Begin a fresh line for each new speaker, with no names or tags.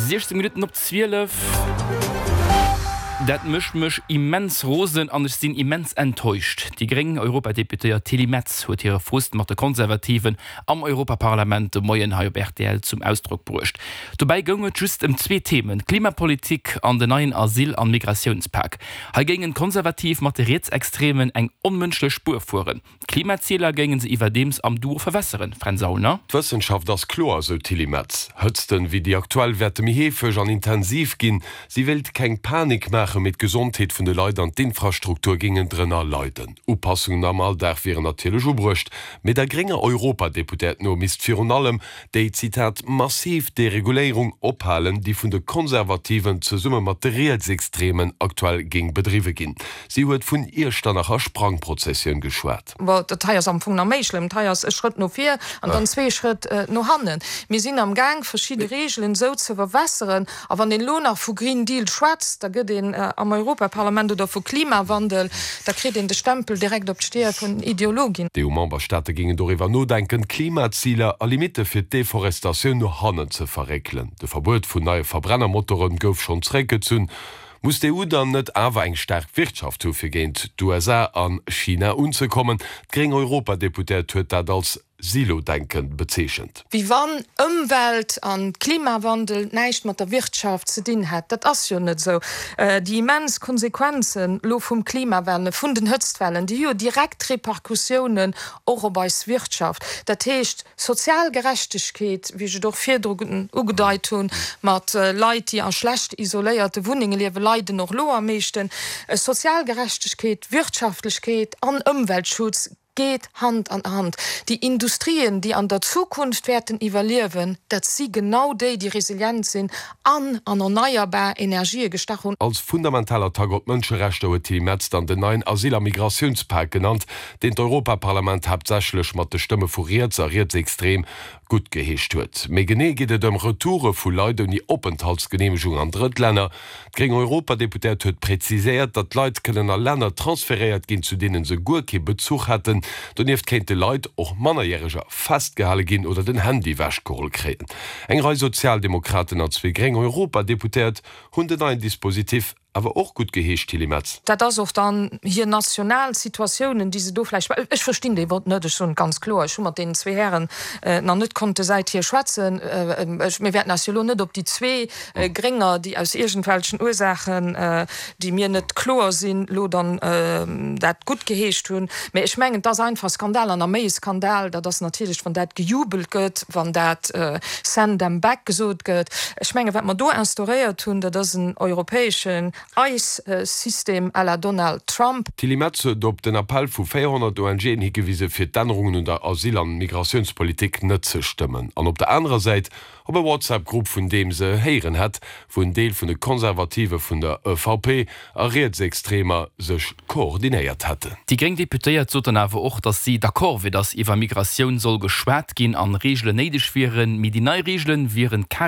16 Minutten op 12. Dat mécht mech immens rosen an ech sinn immens enttäuscht. Déi gréng Europadeputéiert Tilly Metz huet hire Frust mat de Konservativen am Europaparlament de Moien hei op rtl zum Ausdrock bruecht. Dobäi goung et just ëm zwee Themen, d'Klimapolitik an den neien Asyl an Migratiounspak. Hei géingen d'Konservativ mat de Rietsextremen eng onmënschlech Spuer fueren. D'Klimaziler géinge se iwwerdeems am Duo verwässeren, Fränz Aulner.
D'Wëssenschaft ass kloer, sou d'Tilly Metz. Hëtzten wéi déi aktuell wäerte méi heefeg an intensiv ginn. Si wéilt keng Panik maachen, mee d'Gesondheet vun de Leit an d'Infrastruktur géingen drënner leiden. Upassungen am Alldag wieren natierlech ubruecht, mee der grénger Europadeputéiert no misst virun allem déi, Zitat, massiv Dereguléierung ophalen, déi vun de Konservativen zesumme mat de Rietsextremen aktuell géing bedriwwe ginn. Si huet vun Iechternacher Sprangprozessioun geschwat.
Bon, dat hei ass am Fong nach méi schlëmm. Dat hei ass e Schrëtt no vir an dann zwee Schrëtt no hannen. Mir sinn am Gaang, verschidde Regeln esou ze verwässeren. A wann een elo nach vu Green Deal schwätzt, da gëtt een am Europaparlament, oder vu Klimawandel, da kritt een de Stempel direkt op d'Stier vun Ideologin.
D'EU-Memberstaate géingen doriwwer nodenken, d'Klimaziler a Limitte fir d'Deforestatioun no hannen ze verréckelen. De Verbuet vun neie Verbrennermotore gouf schonn zeréckgezunn. Muss d'EU dann net awer eng staark Wirtschaft hu fir géint d'USA a China unzekommen? D'gréng Europadeputéiert huet dat als Silo-Denken bezeechent.
Wéi wann Ëmwelt an Klimawandel näischt mat der Wirtschaft ze dinn hätt. Dat ass jo net esou. Déi immens Konsequenzen elo vum Klimawandel, vun den Hëtztwellen, déi hu jo direkt Repercussiounen och op eis Wirtschaft. Dat heescht, sozial Gerechtegkeet, wéi ech et och virdru ugedeit hunn, mat Leit, déi a schlecht isoléierte Wunnenge liewen, leiden och elo am meeschten. Sozial Gerechtegkeet, Wirtschaftlechkeet an Ëmweltschutz geet Hand an Hand. Déi Industrien, déi an der Zukunft wäerten iwwerliewen, dat si genau déi, déi resilient sinn an an erneierbar Energië gestach hunn.
Als fundamental Attack op d'Mënscherechter huet d'Tilly Metz dann den neien Asyl a Migratiounspak genannt, deen d'Europaparlament haaptsächlech mat de Stëmme vu riets a rietsextrem guttgeheescht huet. Méi genee geet et ëm Retoure vu Leit ouni Openthaltsgeneemegung an Drëttlänner. D'gréng Europadeputéiert huet präziséiert, datt d'Leit kënnen a Länner transferéiert ginn, zu deene se guer kee Bezuch hätten. Donieft kéinte Leit, och Mannerjäreger, festgehale ginn oder den Handy ewechgeholl kréien. Eng Rei Sozialdemokraten a zwee gréng Europadeputéiert hunn den neien Dispositif awer och gutt geheescht, Tilly Metz.
Dat ass och dann hir national Situatiounen, déi se do vläicht, ech verstinn dee Vott net, ech soen et ganz kloer, ech hu mat deenen zwee Hären nach net konnte säithier schwätzen, ech, mir wäerten eis jo elo net op déi zwee Grénger, déi aus iergendwelchen Ursaachen, déi mir net kloer sinn, elo dann dat guttgeheescht hunn. Mä ech mengen, et ass einfach e Skandal an a méi e Skandal, dat ass natierlech, wann dat gejubelt gëtt, wann dat Send them back gesot gëtt. Ech mengen, wat mer do instauréiert hunn, dat ass en europäeschen ICE-System à la Donald Trump.
D'Tilly Metz huet op den Appell vu 400 ONGen higewise fir d'Ännerungen un der Asyl an Migratiounspolitik net ze stëmmen an op der anerer Säit op e WhatsApp-Grupp vun deem se héieren hätt, wou en Deel vun de Konservative vun der EVP a Rietsextremer sech koordinéiert hätten.
Déi gréng Deputéiert sot dann awer och, datt si d'accord wier, datt iwwer Migratioun soll geschwat ginn an Reegelen néideg wieren, mee déi nei Reegelen wieren.